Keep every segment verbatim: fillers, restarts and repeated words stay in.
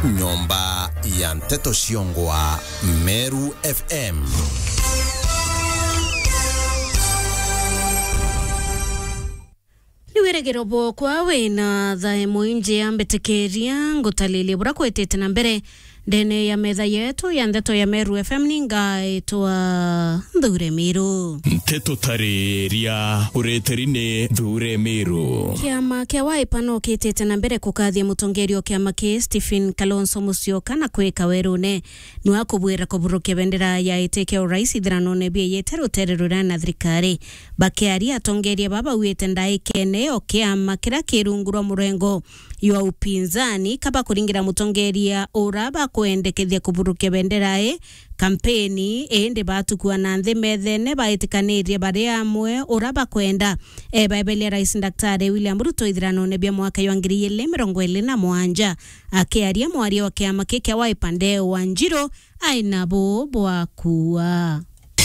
Nyomba ya nteto ciongwa Meru F M. Ni wirigiro bwokwa wina thae mwingi, ambitikiria ngutaririe bura kwitite na mbere ndene ya metha yetu ya ndeto ya Meru F M. Ningaitwa Nthure Miru. Nteto tariria ureteri ni Nthure Miru. Kiama kia Wiper no kitite na mbere kukathia mutongeria o kiama ki Stephen Kalonzo Musyoka na kwika werune nwa kubwira kuburukia bendera ya iti kia urais ithiranone bieyete rutere ruria na thirikari. Bakiaria, atongeria baba bauite ndaikene o kiama kiria ki rungu rwa murengo jwa upinzani, kaba kuringira mutongeria ura bakwendekethia kuburukia bendera i kampeni, indi batukua na nthi methene baitikanirie bari amwe ura bakwenda ebaeberia Rais Daktari William Ruto ithiranone bia mwaka jwa ngiri igiri mirongo iri na mugwanja. Akiaria, mwaria wa kiama ki kia Wiper Ndeo Wanjiru aina bu bwa kuuga.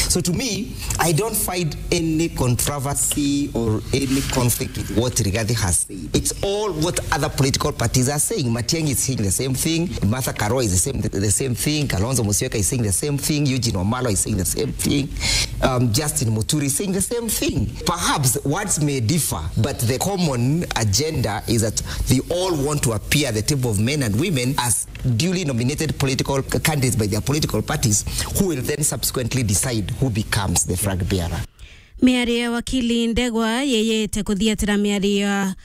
So to me, I don't find any controversy or any conflict with what Rigathi has said. It's all what other political parties are saying. Matiang'i is saying the same thing. Martha Karua is the same, the same thing. Kalonzo Musyoka is saying the same thing. Eugene Wamalwa is saying the same thing. Um, Justin Muturi is saying the same thing. Perhaps words may differ, but the common agenda is that they all want to appear at the table of men and women as duly nominated political c-, candidates by their political parties, who will then subsequently decide who becomes the flag bearer. Miario ya wakili Ndegwa yeyete kuthiatira miario ya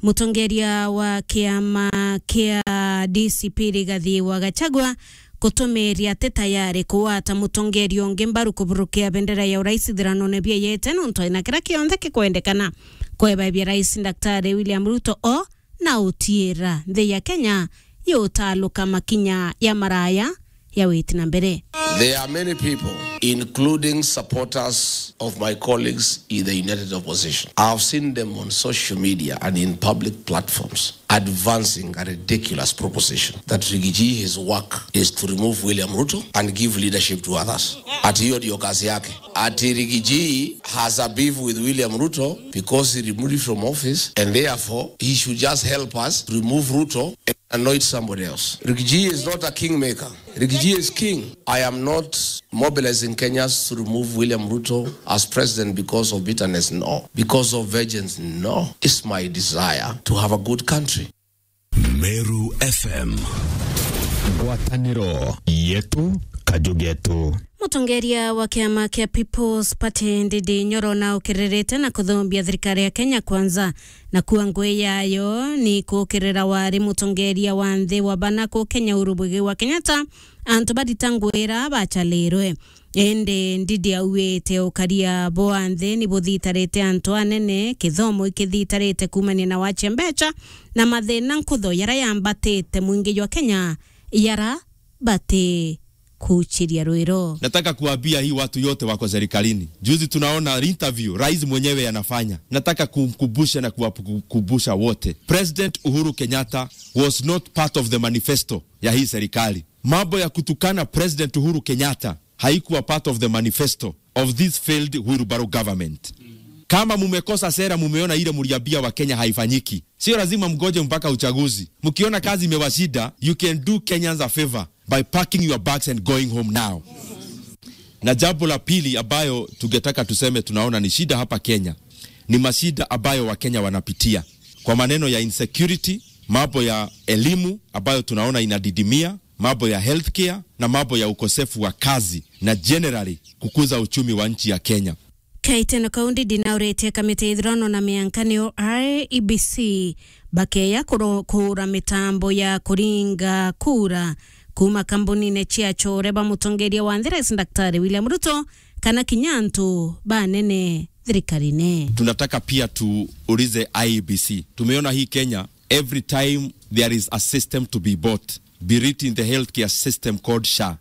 mutongeria wa kiama kia D C P Rigathi wa Gachagua, gutumiria ati tayari kugwata mutongeria ungi mbaru kuburukia bendera ya urais ithiranone bieyete, nontu aina kiria kionthe kikwendekana kwebaibia Rais Daktari William Ruto o na utiira nthi ya Kenya yutaluka makinya ya maraya ya witi na mbere. There are many people, including supporters of my colleagues in the United Opposition. I have seen them on social media and in public platforms advancing a ridiculous proposition that Rigiji, his work is to remove William Ruto and give leadership to others. Ati hiyo ndio kazi yake. Ati Rigiji has a beef with William Ruto because he removed him from office and therefore he should just help us remove Ruto and anoint somebody else. Rigiji is not a kingmaker. Rigiji is king. I am not mobilizing Kenyans to remove William Ruto as president because of bitterness, no. Because of vengeance, no. It's my desire to have a good country. Meru F M. Ngwataniro yetu, kaju getu. Mutongeria wa kiama kia People's Party, Ndindi Nyoro, na ukiririte na kuthumbia thirikari ya Kenya Kwanza, na kuwa ngui yayo ni kukirira wari mutongeria wa nthi wa bana ku Kenya, Uhuru Muigai wa Kenyatta, antu barita ngui ira bachalirwe. Indi Ndindi auite ukaria bwa nthi ni buthitarite antu anene, kithomo ikithitarite kuumania na wache mbecha na mathina nkutho yara yambatite mwingi jwa Kenya yara bati kuchiria rwiro. Nataka kuambia hii watu yote wako serikalini. Juzi tunaona interview rais mwenyewe anafanya. Nataka kumkumbusha na kuwakumbusha wote. President Uhuru Kenyatta was not part of the manifesto ya hii serikali. Mambo ya kutukana President Uhuru Kenyatta haikuwa part of the manifesto of this failed wheelbarrow government. Kama mumekosa sera, mumeona ile mliambia wa Kenya haifanyiki, sio lazima mgoje mpaka uchaguzi. Mkiona kazi imewashinda, you can do Kenyans a favor by packing your bags and going home now. Na jambo la pili ambayo tungetaka tuseme tunaona ni shida hapa Kenya, ni mashida ambayo Wakenya wanapitia kwa maneno ya insecurity, mambo ya elimu ambayo tunaona inadidimia, mambo ya healthcare na mambo ya ukosefu wa kazi na generally kukuza uchumi wa nchi ya Kenya. Kaiteno kau Ndindi nauritie kamiti ya ithurano na mianka niyo I E B C bakeya kuro-, kuura mitambo ya kuringa kura kuuma kambunine cia chore ba mutongeria wa nthi Rais Daktari William Ruto kana kinya antu banene thirikarine. Tunataka pia tuulize I E B C. Tumeona hii Kenya, every time there is a system to be bought, be it in the healthcare system called SHA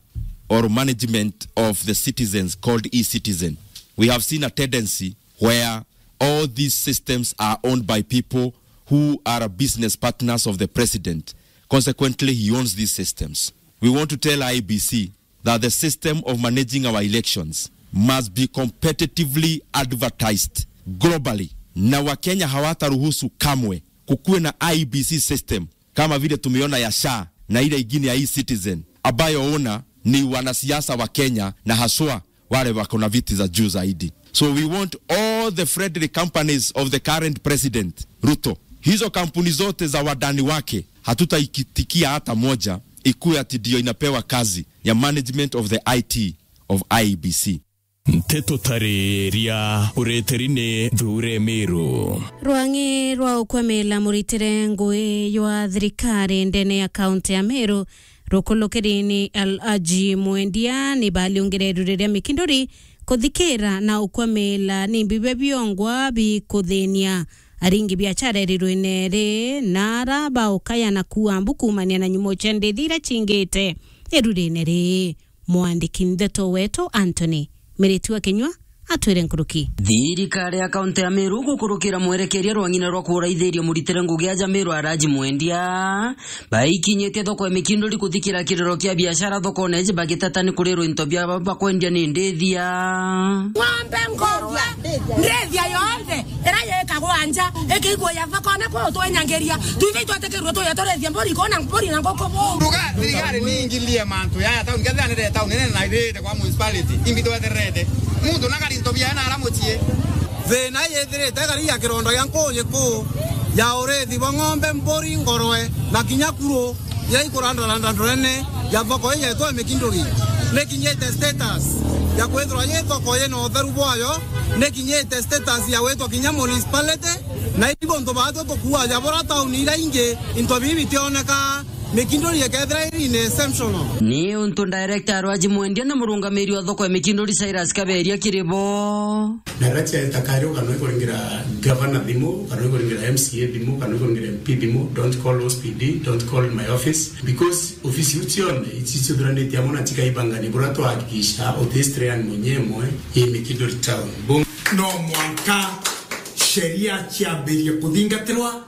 or management of the citizens called e-citizen, we have seen a tendency where all these systems are owned by people who are business partners of the president. Consequently, he owns these systems. We want to tell I E B C that the system of managing our elections must be competitively advertised globally, na Wakenya hawataruhusu kamwe kukuwe na I E B C system kama vile tumeona ya SHA na ile ingine ya e-Citizen, ambayo owner ni wanasiasa wa Kenya na haswa wale wako na viti za juu zaidi. So we want all the friendly companies of the current president, Ruto. Hizo kampuni zote za wandani wake, hatutaikitikia hata moja ikuwe ati ndio inapewa kazi ya management of the I T of I E B C. Nteto tariria ureteri ni Thure Miru. Rwang'i rwa ukwamila muritire ngui jwa thirikari ndene ya kaunti ya Meru rukulukiri ni Alhaji Mwendia ni baliungire iru riria mikinduri kuthikira na ukwamila ni mbibe biongwa bikuthinia aringi biachara irirwine ri na ara baukaya na kuua mbu kuumania na nyumo cia ndithi iria cingite irurine ri. Mwandiki ndeto wetu Anthony Miriti wa Kinyua atwire nkuruki. Thirikari ya kaunti ya Meru gukurukira mwerekeria rwa ng'ina rwa kuraithiria muritire ngugi aja Meru Alhaji Mwendia, baikinyitie thoko ya Mikinduri kuthikira kiriro kia biashara thokone iji bagiteta ni kurirwa into bia bakwendia ni ndithia. Ng'ombe, ngorwe, ndithia yonthe iria yikagwa nja, ikigwa ya thokone kuu twinyangiria. Twithe itwetikirwe tuye turithie mburi kuu na mburi na nguku buu. Nduga thirikari ni ingilie mantu yaya tauni, kethira ni tauni nene na ithirite kwa municipality, imbi twetererete. Muntu na kari into biae na ara mucii. Thina yithirite kari ya kirondo gia nkuuji kuu ya urithi bwa ng'ombe, mburi, ngorwe na kinya kuru. Iria ikurandaranda ndorene ya thoko ii yeetwa Mikinduri, nikinyite status ya kwithirwa yi thoko yina utheru bwayo, nikinyite status ya gwitwa kinya municipality, na ibu untu baatwi tukuaja bura tauni iria ingi, into bibi bitioneka, Mikinduri ikethira iri in exceptional. Ni untu director Alhaji Mwendia na murungamiri wa thoko ya Mikinduri Cyrus Kaberia kiri bo. Na riria ciareta kairi, kana ikuringira gavana thimu, kana ikuringira M C A thimu, kana ikuringira M P thimu, don't call O C P D, don't call my office, because ofisi iu cionthe ici ciuthuranitie amwe na cikaibangania buria twahakikisha uti strain munyemwe i Mikinduri town. Bo- No mwanka sheria ciambirie kuthingatirwa,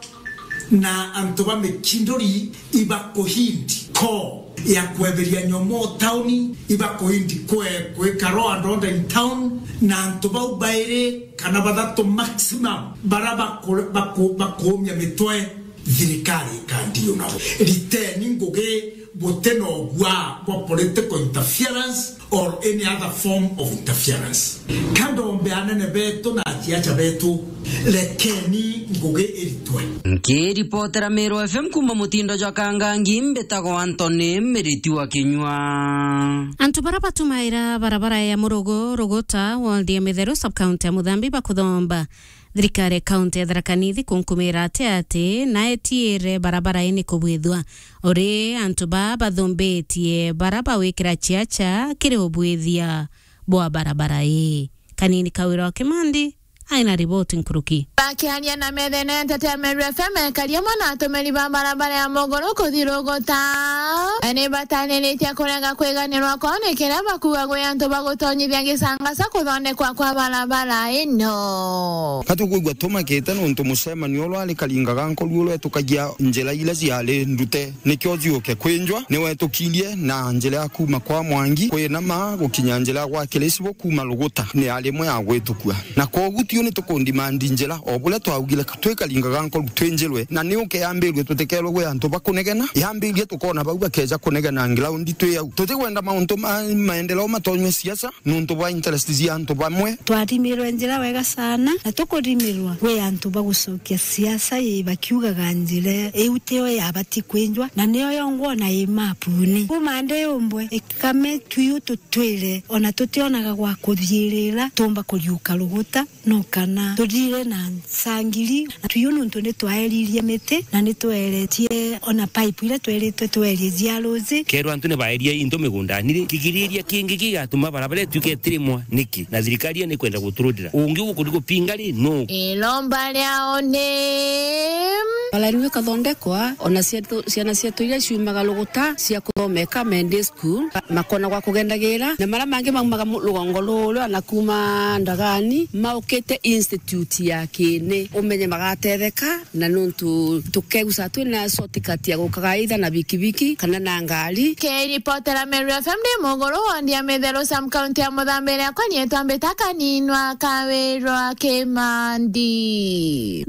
na antu ba Mikinduri ibakuhindi ko ya kweberia nyomo tauni, ibakuhindi kwe kwika law and order in town, na antu bau bairi kana bathatu maximum bara baku- baku- bakuumia mitwe, thirikari ikandiu nabo. Riteni ngugi buti na ugwa bwa political interference or any other form of interference. Ka ndombe anene betu na aciaca betu, rekeni ngugi iritwe. Nkiripotera Meru F M kuuma mutindo jwa Kangangi, mbitagwa Anthony Miriti wa Kinyua. Antu bara batumaira barabara ya Murugu, Ruguta, ward ya Mitheru, sub-county ya Muthambi, bakuthomba thirikari ya kaunti ya Tharaka Nithi kunkumira ati ati na etiire barabara ini kubwithua. Uri antu ba bathumbitie bara bawikira ciaca kiri ubwithia bwa barabara ii. Kanini Kawira wa Kimandi aina riboti nkuruki. Bakiaria na Methene Entertainment F M, ekari amwe na atumiri ba barabara ya Muguru kuthi Ruguta, ni bataniritie kurega kwiganirwa kwao ni kiria bakuga gwi antu bagutonyithia gicangasa kuthondekwa kwa barabara ino. Ka tukwigua tumakite nontu mucemanio uria wari karinga ga nkoru uria wetukagia njira iria ciari ndute nikio ciuke kwinjwa, ni wetukirie na njira ya kuuma kwa Mwangi kwinama gukinya njira ya gwa Kirisibu kuuma Ruguta ni yari imwe ya gwitukua. Na kwogu tiu ni tukundimandi njira o buria twaugire twi karinga ga nkoru twinjirwe, na ni uke yambirue tutikerwe gwi antu ba kunegena, yambirie tukona bau bakeja kunegena ground twi au. Tutikwenda mauntu ma maendeleo matonywe siasa, nontu bwa interest cia antu bamwe. Twarimirwe njira wega sana, na tukurimirwa gwi antu bagucokia siasa ii bakiugaga njira iu tio yabati kwinjwa, na nio yongwa ona i mapuni. Kuuma ndi umbwe, ikame tuyu tutwire, ona tutionaga gwa kuthiirira, tumba kuriuka Ruguta, no kana tuthire na ncangiri, na tuyu nontu ni twaeririe miti, na ni tweretie ona pipe iria tweritwe twerie cia ruji. Kerwa antu ni baerie into migundani ri, kigiriria kingi gigatuma barabara ituike itirimwa niki? Na thirikari ni kwenda guturutira. Ungi gukuthi gupinga ri, nu? Iromba riao ni Barabara ino ikathondekwa, ona cietu, ciana cietu iria ciumaga Ruguta cia kuthomeka Menday School, makona gwa kugendagira, na maria mangi maumaga mu-, rugongo ruria na kuuma Ndagani, maukite institute ya kini, umenye magatetheka, na nontu tukeguca twina shortcut ya gukaga either na bikibiki kana na ngari. Kiripotera Meru F M ndi Muguru, wondi ya Mitheru, Sam, kaunti ya Muthambi, riakwa nietwa Mbita Kaninwa Kawirwa Kimandi.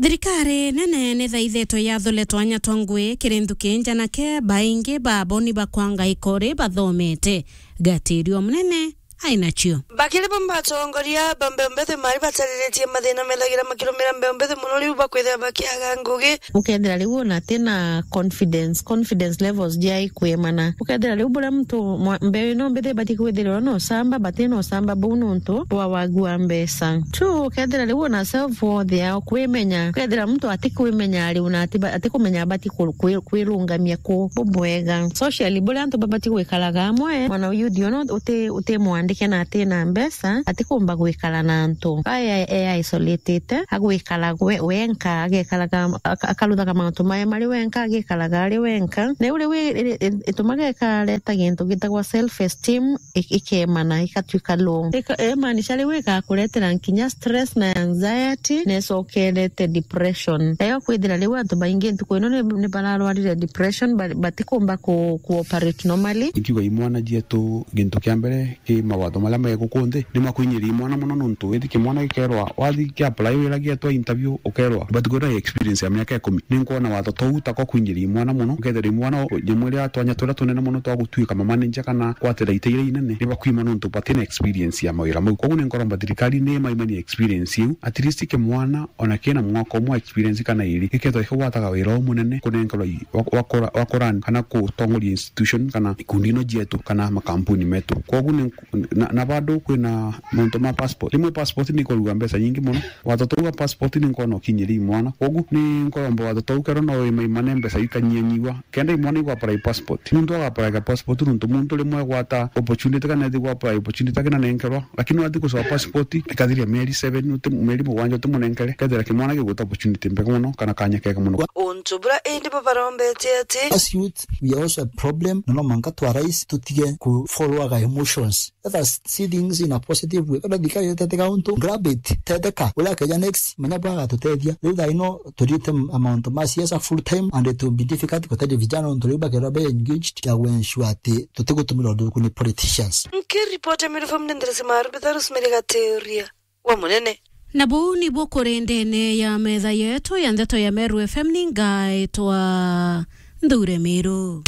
Thirikari nene nithaithetwe yathule twanya twa ngui kiri nthuki njanake, baingi babo ni bakwanga ikori bathomete. Gatirio munene ainacio. Bakiri bo batongoria ba mbeumbe thimari batariritie mathina methagira makirumira mbeumbe thi mono, riu bakwithira bakiaga ngugi. Ukethira riu ona atina confidence, confidence levels jia ikwimana. Ukethira riu buria muntu mwa-, mbeu ino mbithi ibati kwithirwa na usamba, but ina usamba buu nontu bwa wagu wa mbeca. Two, ukethira riu ona self worth yao kwimenya. Ukethira muntu atikwimenya riu na ati-, atikumenya abati ku-, kwi-, kwirungamia ku bubwega. Socially, buria antu babati gwikaraga amwe, mwana youth ono uti-, utimwandike na atina mbeca, atikumba gwikara na antu. Aya e isolated, agwikara we-, wenka, agekaraga, aka-, akaruthaga mantu mae mari wenka, agikaraga ari wenka. Na iu riu i-, i-, i-, itumaga ikareta gintu gitagwa self esteem, i-, ikemana, ikatuika low. Ika-, imaanisha riu igakuretera nkinya stress na anxiety, na icokerete depression. Nayo kwithira riu antu baingi ntuku ino ni, ni bararwarire depression, ba-, batikumba ku, ku operate normally. Ingiuga imwana jietu, gintu kia mbere, ki mawatho maria me guku nthi, ni makwinyiria imwana mono, nontu ithi kimwana gikerwa, wathi kia apply wira gietwa interview, ukerwa, but kwina experience ya miaka ikumi. Ni nkwona watho tou tako kwinyiria imwana mono, ukethira imwana o-, nyamwe iria twanya turia tunene mono twa gutuika mamanager kana kwatira ite iria inene, ni bakwima nontu batina experience ya mawira mau. Koguo ni nkoromba thirikari ni maimanie experience iu, at least kimwana ona kina mwaka umwe experience kana iri, gikethwa gikigwataga wira umunene kunenkerwa i-, wa, wa kura-, wa kurani kana kutongoria institution kana ikundi ino jietu kana makampuni metu. Koguo ni, na, na bado kwina mauntu ma passport. Rimwe passport ni ikorua mbeca nyingi mono. Watho tou wa passport ni nkona ukinyiria imwana. Koguo ni nkoromba watho tou kero no imaimane mbeca ikanyianyiwa. Kenda imwana igwa apply passport. Muntu aga apply passport nontu muntu rimwe agwata opportunity kana ethi gwa apply opportunity akina nenkerwa. Lakini wathi gucoa passport, ikathiria mieri seven, uti-, mieri mugwanja utimunenkere, kethira kimwana gigwita opportunity mbega mono, kana kanya kega mono. Untu bura indi bo barombete ati, as youth, we are also a problem, na no mwanka twa rais tutige ku follow our emotions. Let us see things in a positive way. Kada thikari teteka untu, grab it, teteka. Ula keja next, manya bwa gatutethia. Riu thaa ino, turite m-, mauntu ma siasa full time, and it will be difficult kutethia vijana untu riu bakerwa be engaged ya ensure ati tutigutumira undu kuni politicians. Nkiripota Meru F M ni Nderesi Maru, Bitha Rosemary Gateria wa Munene. Na buu nibuo kuri ndene ya metha yetu ya ndeto ya Meru F M, ni ngaitwa Nthure Miru.